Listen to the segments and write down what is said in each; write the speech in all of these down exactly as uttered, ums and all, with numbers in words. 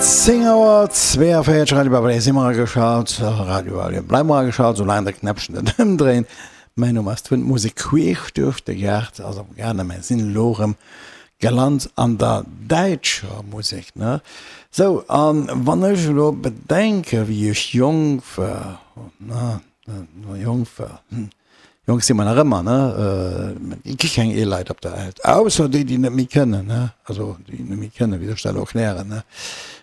Zéng Auer zweeënvéierzeg, Radio Babalé, si mer ageschalt. Radio Babalé, bleiwe mer ageschalt, soulaang de Knäppchen net ëmdréint. Mäin Numm ass Twin, d'Musek queesch duerch de Gaart ass am gaangen. Mer sinn elo erëm gelant an der däitscher Musek, ne? Sou, an wann ech elo bedenke wéi ech jonk war, ne, jonk war, hm, jonk si mer nach ëmmer, ne, et gi keng eeler Leit op der Welt, ausser déi, déi net méi kënnen, ne, also déi net méi kënnen, wéi soll ech dat elo erklären, ne,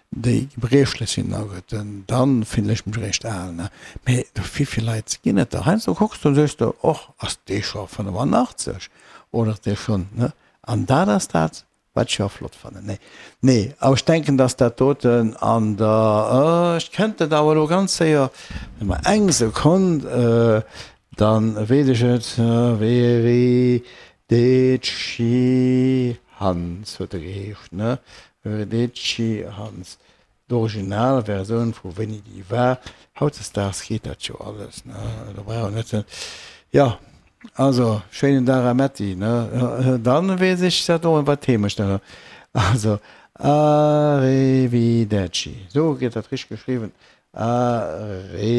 déi gebriechlech sinn, na gutt, dann fillen ech mech eréischt al, ne. Mee wéi vill Leit ginn et der? Heiansdo kucks du an sees de, och, ass dee scho fënnefannachtzeg oder ass dee schonn, ne? An dat ass dat, wat ech jo flott fannen. Nee, nee, awer ech denken, dass dat doten an der, ech kennt et awer elo ganz séier, gëtt mer eng Sekonn, dann weess ech et, Arrivederci Hans huet e geheescht, ne? Arrivederci Hans. D'Originalversioun vu wéini déi war. Hautdesdaags geet dat jo alles, ne? Do brauch een net ze, jo, also, schéinen Dag a Metti, ne? Dann weess ech dat och, wat d'Heemecht da. Also, Arrivederci, sou gëtt dat richteg geschriwwen, Arrivederci.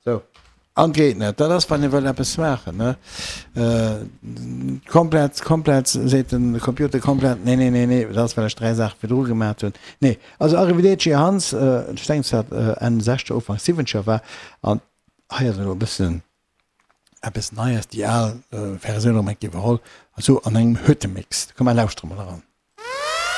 Sou, an geet net. Dat ass, wann ee wëll eppes maachen, ne? Komplett, komplett, seet den Computer, komplett, nee, nee, nee, nee, dat ass, well ech dräi Saache virdru gemaat hunn. Nee, also Arrivederci Hans, ech denken, dass dat Enn Sechzeger, Ufank Siwwenzeger war. An hei ass elo e bëssen eppes Neies, déi al Versioun erëm eng Kéier iwwerholl, also an engem Hüttemix. Komm, mer lauschtere mol eran.